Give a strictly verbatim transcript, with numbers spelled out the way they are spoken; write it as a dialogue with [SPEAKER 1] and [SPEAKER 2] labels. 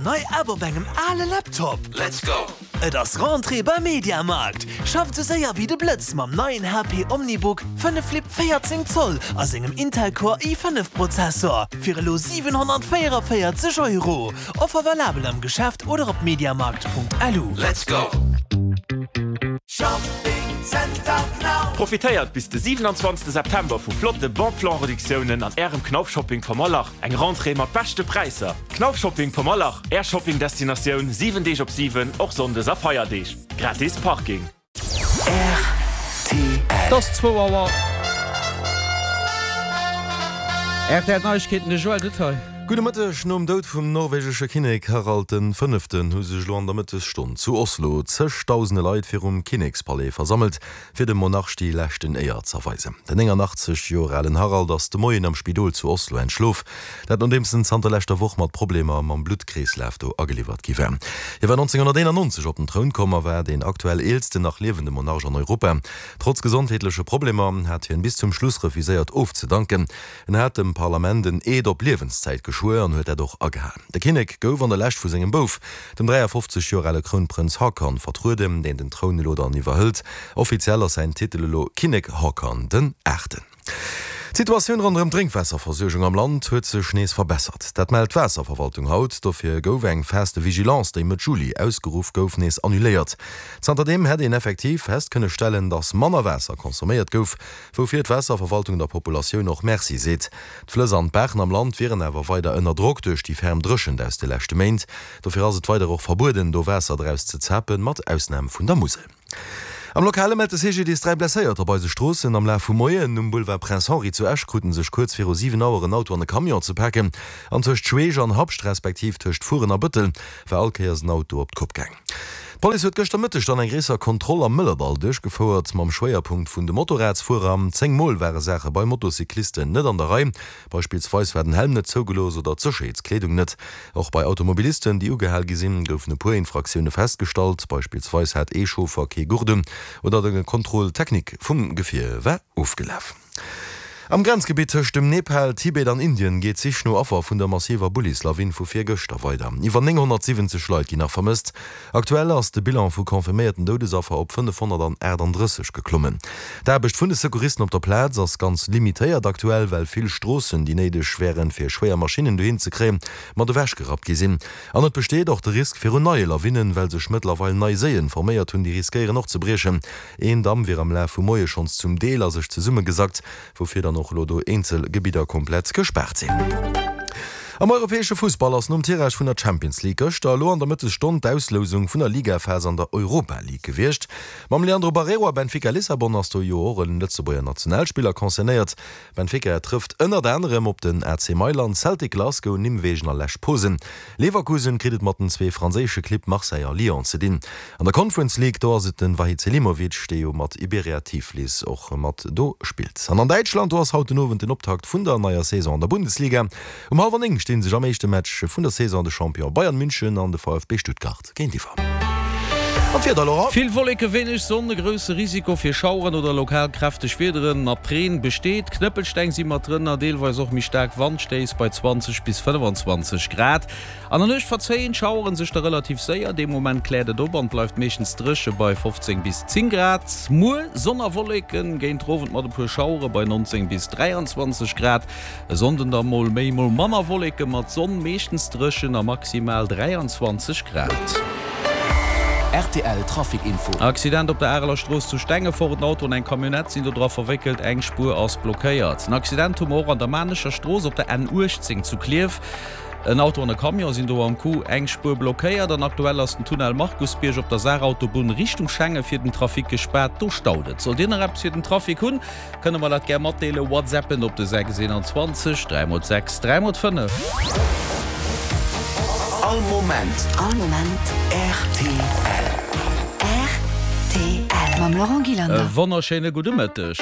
[SPEAKER 1] nei App op engem ale Laptop?
[SPEAKER 2] Let's go!
[SPEAKER 1] Et ass Rentrée beim Mediamarkt! Schafft sou séier wéi de Blëtz mam neien H P OmniBook fënnef Flip véierzéng Zoll a sengem Intel Core i fënnef Prozessor fir elo siwenhonnertvéierevéierzeg Euro. Offer valabel am Geschäft oder op mediamarkt Punkt lu.
[SPEAKER 2] Let's go!
[SPEAKER 1] Shopping Center Knauf.
[SPEAKER 3] Profitéiert bis de siwenanzwanzegste September vu flotte Bon Plan Reduktiounen an Ärem Knauf Shopping Pommerlach. Eng Rentrée mat beschte Präisser. Knauf Shopping Pommerlach, Är Shopping Destinatioun siwen Deeg op siwen, och Sonndes a Feierdeeg. Gratis Parking.
[SPEAKER 2] R T L.
[SPEAKER 4] Et ass zwou Auer. R T L Neiegkeeten, de Joël Detail.
[SPEAKER 5] Gudde Mëtteg. Nom Doud vum norwegesche Kinnek Harald den Fënneften hu sech elo an der Mëttesstonn zu Oslo zëgdausende Leit virum Kinnekspalais versammelt, fir dem Monarch déi leschten Éier z'erweisen. Den néngannachtzeg Joer alen Harald ass de Moien am Spidol zu Oslo entschlof, dat nodeems en zanter leschter Woch mat Problemer mam Bluttkreeslaf do ageliwwert gi war. Hie war nonzénghonnerteenannonzeg op den Troun komm a war deen aktuell eelsten nach liewende Monarch an Europa. Trotz gesondheetleche Problemer hat hien bis zum Schluss refuséiert ofzedanken. En hat dem Parlament en Eed op Liewenszäit geschwuer an huet dat och agehalen. De Kinnek gouf an der Lescht vu sengem Bouf, dem dräiafofzeg Joer ale Krounprënz Haakon, vertrueden, deen den Troun elo dann iwwerhëlt. Offiziell ass säin Titel elo Kinnek Haakon den Aachten. D'Situatioun ronderëm d'Drénkwaasserversuergung am Land huet sech nees verbessert. Dat mellt d'Waasserverwaltung haut. Dofir gouf eng Phase de vigilance, déi Mëtt Juli ausgeruff gouf, nees annuléiert. Zanterdeem hätt een effektiv fest kënne stellen, datt manner Waasser consomméiert gouf, woufir d'Waasserverwaltung der Populatioun och Merci seet. D'Flëss an d'Baachen am Land wieren awer weider ënner Drock duerch déi ferm Dréchent aus de leschte Méint. Dofir ass et weider och verbueden, do Waasser draus ze zapen, mat Ausnam vun der Musel. Am Lokale mellt de C G D I S dräi Blesséierter op eise Stroossen. Am Laf vum Moien um Boulevard Prince Henri zu Esch kruten sech kuerz viru siwen Auer en Auto an e Camion ze paken. An tëscht Schweech an Habscht respektiv tëscht Furen a Bëttel war all Kéiers en Auto op d'Kopp gaang. D'Police huet gëschter Mëtteg dann eng gréisser Kontroll am Mëllerdall duerchgefouert, mam Schwéierpunkt vun de Motorradsfuerer. Zéng Mol ware Saache bei Motocyclisten net an der Rei. Beispillsweis war den Helm net zougelooss oder d'Sécherheetskleedung net. Och bei Automobilisten, déi ugehal gi sinn, goufen e puer Infraktioune festgestallt. Beispillsweis hat ee Chauffer kee Gurt un oder de Contrôle technique vum Gefier war ofgelaf. Am Grenzgebitt tëscht dem Nepal, Tibet an Indien geet d'Sich no Affer vun der massiver Bullislawin vu virgëschter weider. Iwwer nénghonnertsiwwenzeg Leit ginn nach vermësst. Aktuell ass de Bilan vu confirméierten Doudesaffer op fënnefhonnertaachtanddrësseg geklommen. D'Aarbecht vun de Secouristen op der Plaz ass ganz limitéiert aktuell, well vill Stroossen, déi néideg wären, fir schwéier Maschinnen dohin ze kréien, mat ewechgerappt gi sinn. An et besteet och de Risk virun neie Lawinnen, well sech mëttlerweil nei Séien forméiert hunn, déi riskéieren och ze briechen. Een Damm wier am Laf vum Moie schonns zum Deel a sech zesummegesackt, woufir dann och elo do eenzel Gebidder komplett gespaart sinn. Am europäesche Fussball ass nom Tirage vun der Champions League gëschter elo an der Mëttesstonn d'Auslousung vun der Ligaphas an der Europa League gewiescht. Mam Leandro Barreiro a Benfica Lissabon ass do jo och en Lëtzebuerger Nationalspiller concernéiert. Benfica trëfft ënnert anerem op den A C Mailand, Celtic Glasgow, Nimwegen a Lech Posen. Leverkusen kritt et mat den zwee franséische Clibb Marseille a Lyon ze dinn. An der Conference League, do ass et de Vahid Selimovic, dee jo mat Iberia Tiflis och mat do spillt. An an Däitschland, do ass haut den Owend den Optakt vun der neier Saison an der Bundesliga. Um hallwer néng stinn sech am éischte Match vun der Saison de Champion Bayern München an de V F B Stuttgart géintiwwer. An d'Wieder, Laurent?
[SPEAKER 4] Vill Wolleke, wéineg Sonn, e grousse Risiko fir Schaueren oder lokal kräfteg Wiederen mat Reen besteet. Knëppelsteng si mat drënner, deelweis och méi staark Wandstéiss bei zwanzeg bis fënnefenzwanzeg Grad. An der Nuecht verzéien d'Schaueren sech da relativ séier, dee Moment kläert et op an et bleift meeschtens dréche bei fofzéng bis zéng Grad. Muer Sonn a Wolleken, géint Owend mat e puer Schauere bei nonzéng bis dräianzwanzeg Grad. E Sonnden da mol méi, mol manner Wolleke mat Sonn, meeschtens dréchen a maximal dräianzwanzeg Grad.
[SPEAKER 2] R T L Trafic Info.
[SPEAKER 4] Accident op der Areler Strooss zu Stengefort, En Auto an eng Camionnette sinn do dra verwéckelt, eng Spuer ass blockéiert. En Accident hu mer och an der Maarnecher Strooss op der N uechtzéng zu Klierf. En Auto an e Camion sinn do am Coup, eng Spuer blockéiert. An aktuell ass den Tunnel Markusbierg op der Saarautobunn Richtung Schengen fir den Trafic gespaart, do staut et. Sollt Dir nach eppes fir den Trafic hunn, kënne mer dat gär matdeelen, WhatsAppen op de sechs eenanzwanzeg dräi mol sechs dräi mol fënnef.
[SPEAKER 2] All Moment.
[SPEAKER 6] All Moment.
[SPEAKER 2] R T L.
[SPEAKER 6] R T L. Mam Laurent
[SPEAKER 4] E
[SPEAKER 6] Gillander.
[SPEAKER 4] Wonnerschéine gudde Mëtteg.